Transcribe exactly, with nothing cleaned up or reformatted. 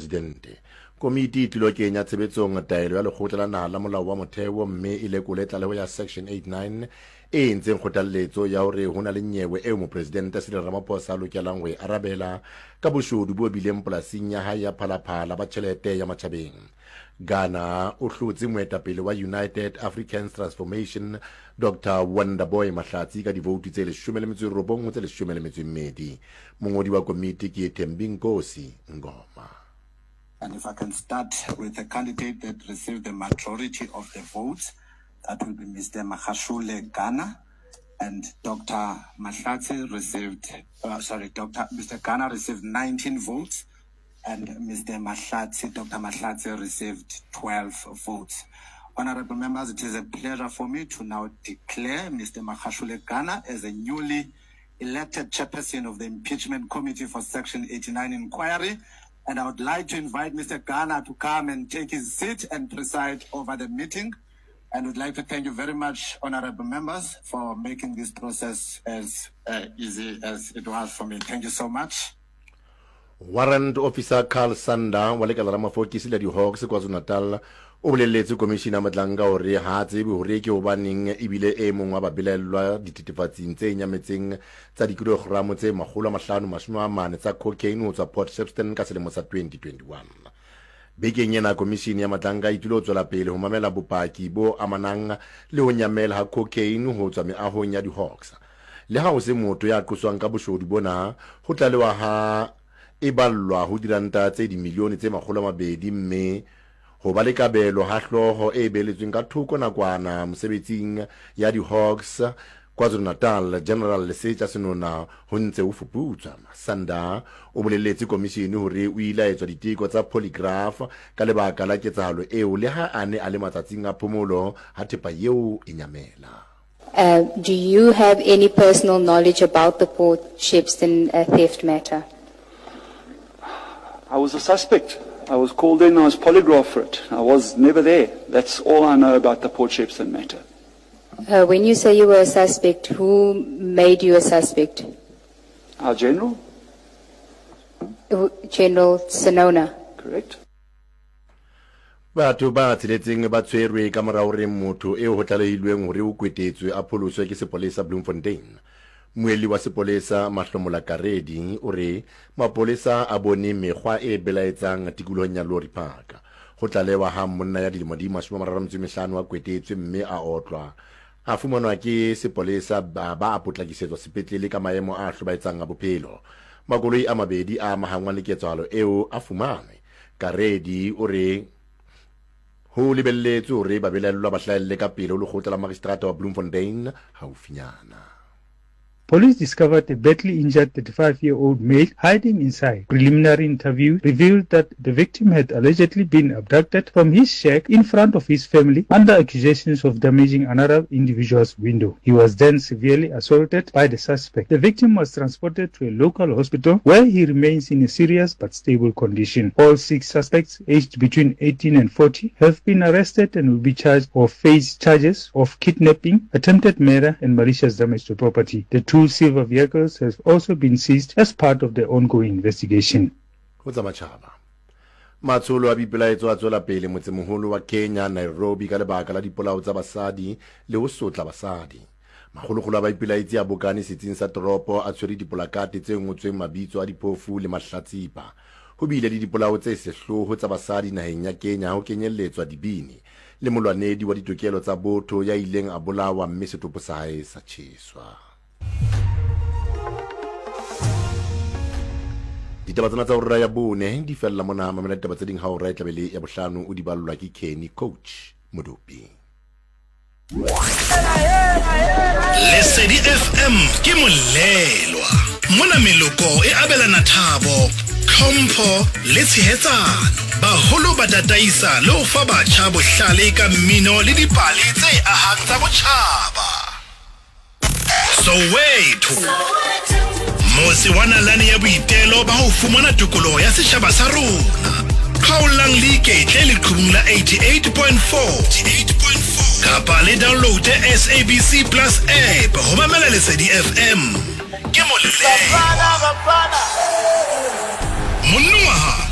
mopresidente. Komiti e tlilo kenya tshebetsong taelo ya lekgotla la naha la molao wa motheo mme e lekole tlaleho ya Section eighty-nine e entseng kgothalletso ya hore ho na le nyewe eo mopresidente Cyril Ramaphosa a lokelang ho e arabela ka boshodu bo bileng polasing ya hae ya Phalaphala ba tjhelete ya matjhabeng. Ghana o hlotse moetapele wa United African Transformation Doctor Wonderboy Mahlatsi ka divoutu tse leshome le metso e robong ho tse leshome le metso e mmedi. Mongodi wa komiti ke Thembinkosi Ngoma. And if I can start with the candidate that received the majority of the votes, that will be Mister Makashule Gana, and Doctor Mahlatsi received, uh, sorry, Doctor Mister Gana received nineteen votes, and Mister Mahlatsi, Doctor Mahlatsi received twelve votes. Honorable members, it is a pleasure for me to now declare Mister Makashule Gana as a newly elected chairperson of the Impeachment Committee for Section eighty-nine Inquiry. And I would like to invite Mister Gana to come and take his seat and preside over the meeting. And would like to thank you very much, honorable members, for making this process as uh, easy as it was for me. Thank you so much. Warrant Officer Carl Sander wa lekala la mafokisi la di-Hawks KwaZulu-Natal o bolelletse komishini ya Madlanga hore ha a tsebe hore ke hobaneng ebile e mong wa babelaellwa dithethefatsing tse nyametseng tsa dikilogramo tse makgolo a mahlano mashome a mane tsa cocaine ho tswa Port Shepstone ka selemo sa twenty twenty-one. Bekeng ena komishini ya Madlanga e tlilo tswela pele ho mamela bopaki bo amanang le ho nyamela ha cocaine ho tswa meahong ya di-Hawks. Le ha ho se motho ya qoswang ka boshodu bona, ho tlalewa ha e ballwa ho diranta tse dimilione tse makgolo a mabedi mme ho ba le kabelo ha hlooho e beletsweng ka thoko nakwana mosebetsing ya di-Hawks KwaZulu-Natal General Lesetja Senona ho ntse ho fuputswa. Sanda o bolelletse komishini hore o ile a etswa diteko tsa polygraph ka lebaka la ketsahalo eo le ha a ne a le matsatsing a phomolo ha thepa eo e nyamela. Uh, do you have any personal knowledge about the Port Shepstone uh, theft matter? I was a suspect. I was called in, I was polygraphed for it. I was never there. That's all I know about the Port Shepstone matter. Uh, when you say you were a suspect, who made you a suspect? Our general. General Senona. Correct. Batho ba tsheletseng ba tshwerwe ka mora hore motho eo ho tlalehilweng hore o kwetetswe a pholoswe ke sepolesa Bloemfontein. Moeli wa sepolesa Mahlomola Karedi o re mapolesa a bone mekgwa e belaetsang tikolohong ya Lorry Park. Ho tlalewa ha monna ya dilemo di mashome a mararo a metso e mehlano a kwetetswe mme a otlwa. A fumanwa ke sepolesa ba ba a potlakisetswa sepetlele ka maemo a hlobaetsang a bophelo. Makoloi a mabedi a amahangwang le ketsahalo eo a fumanwe. Karedi o re ho lebelletswe hore babelaellwa ba hlahelle ka pele ho lekgotla la magistrata wa Bloemfontein haufinyana. Police discovered a badly injured thirty-five-year-old male hiding inside. Preliminary interview revealed that the victim had allegedly been abducted from his shack in front of his family under accusations of damaging another individual's window. He was then severely assaulted by the suspect. The victim was transported to a local hospital where he remains in a serious but stable condition. All six suspects, aged between eighteen and forty, have been arrested and will be charged or face charges of kidnapping, attempted murder, and malicious damage to property. The two silver vehicles have also been seized as part of the ongoing investigation. Ho tsa matjhaba. Matsholo a boipelaetso a tswela pele motsemoholo wa Kenya Nairobi ka lebaka la dipolao tsa basadi le ho sotla basadi. Makgolokgolo a baipelaetsi a bokane setsing sa toropo a tshwere dipolakate tse ngotsweng mabitso a diphofu le mahlatsipa. Ho bile le dipolao tse sehloho tsa basadi naheng ya Kenya ho kenyelletswa dibini le molwanedi wa ditokelo tsa botho ya ileng a bolawa mme setopo sa hae sa tjheswa. Ditaba tsena tsa hora ya bone di fella mona. Mamela ditaba tse ding ha hora e tlabe le ya bohlano o di ballwa ke Kenny Coach Modopi. Lesedi F M ke molelwa. Mona meloko e abelana thabo, tlhompho le tshehetsano. Baholo ba tataisa le ho fa batjha bohlale ka mmino le dipale tse ahang tsa botjhaba. Soweto, motse wa nalane ya boitelo ba ho fumana tokoloho ya setjhaba sa rona. Kgaolang le iketle leqhubung la eighty-eight point four kapa le download S A B C Plus app ho mamela Lesedi F M. Ke molelwa. Monongwaha